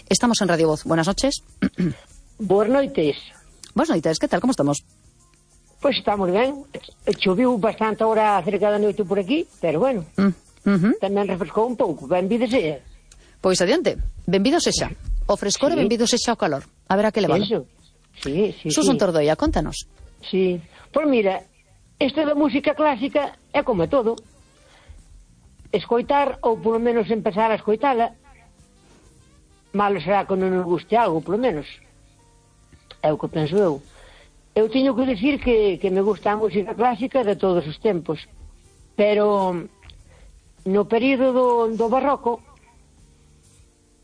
Estamos en Radio Voz. Buenas noches. Boas noites. Boas noites, que tal, como estamos? Pois estamos ben. Choviu bastante ahora cerca da noite por aquí, pero bueno, tamén refrescou un pouco. Benvido sea. Pois adiante, benvido sexa. O frescor e benvido sexa o calor. A ver a que levalo. Eso. Sí. Susun Tordoia, contanos. Sí. Pois mira, isto da música clásica é como todo. Escoitar, ou polo menos empezar a escoitala, malo será que non nos guste algo, polo menos. É o que penso eu. Eu teño que decir que me gusta a música clásica de todos os tempos, pero no período do barroco,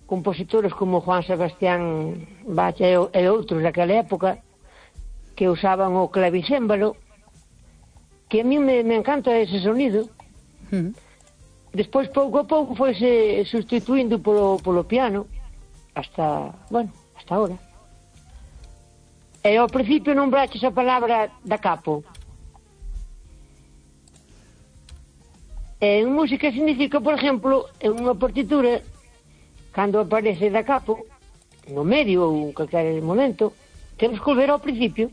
compositores como Juan Sebastián Bach e outros daquela época que usaban o clavicémbalo, que a mí me encanta ese sonido. Despois, pouco a pouco, foise sustituindo polo piano hasta ahora. E ao principio non braches a palabra da capo. En música significa, por exemplo, en unha partitura, cando aparece da capo, no medio ou en calquer momento, temos que volver ao principio.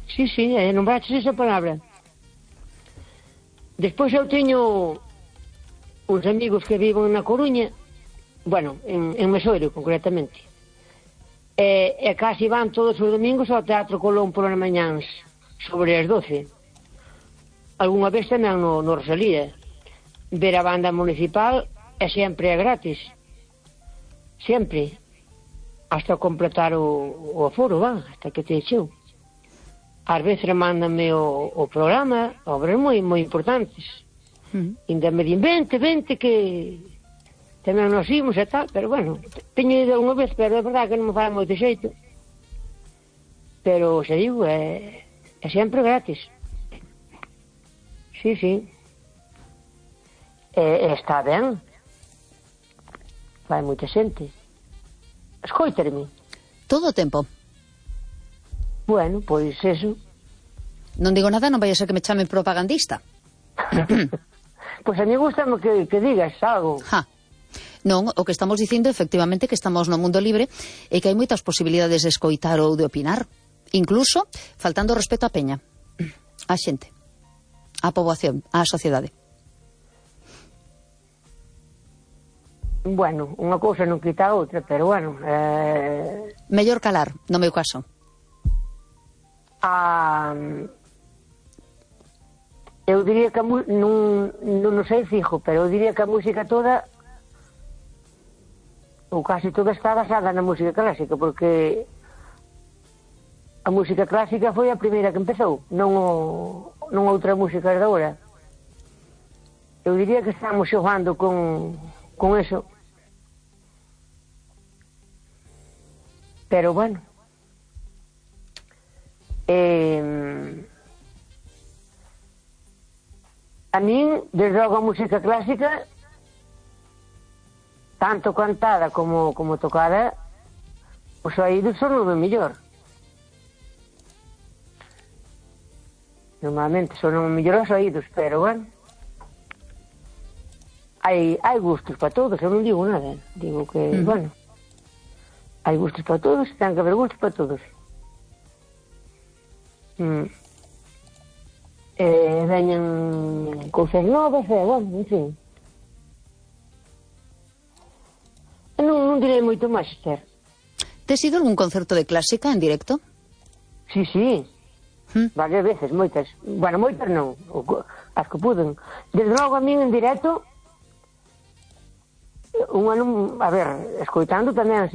Sí, non braches esa palabra. Despois eu teño uns amigos que viven na Coruña, bueno, en Mesoiro, concretamente. E casi van todos os domingos ao Teatro Colón polas mañáns, sobre as 12. Algúnha vez tamén no Rosalía. Ver a banda municipal é sempre gratis. Sempre. Hasta completar o aforo, hasta que te echeu. Ás veces mándame o programa, obras moi importantes. Ainda me din, vente, que tamén nos imos e tal, pero bueno, teño ido unha vez, pero é verdade que non me fala moito xeito. Pero, se digo, é sempre gratis. Sí. Está ben. Vai moita xente. Escoitarme. Todo o tempo. Bueno, pois eso. Non digo nada, non vai a ser que me chamen propagandista. Pois a mí gustame que digas algo. Non, o que estamos dicindo efectivamente que estamos no mundo libre e que hai moitas posibilidades de escoitar ou de opinar, incluso faltando respeto á peña, á xente, á poboación, á sociedade. Bueno, unha cousa non quita a outra, pero bueno... Mellor calar, no meu caso. Eu diría que non sei fijo, pero eu diría que a música toda, ou casi toda, está basada na música clásica, porque a música clásica foi a primeira que empezou, non outra música de agora. Eu diría que estamos xogando con eso. Pero bueno, a min, desde logo, a música clásica, tanto cantada como tocada, os oídos son o mellor. Normalmente son o mellor os oídos, pero bueno, hai gustos para todos, eu non digo nada, digo que, bueno, hai gustos para todos, ten que haber gustos para todos. Veñan cousas novas, bueno, en fin. Non direi moito máis, Esther. Tes ido algún concerto de clásica en directo? Sí. Varias veces, moitas. Bueno, moitas non, as que puden. Desde logo a min en directo, a ver, escoitando tamén así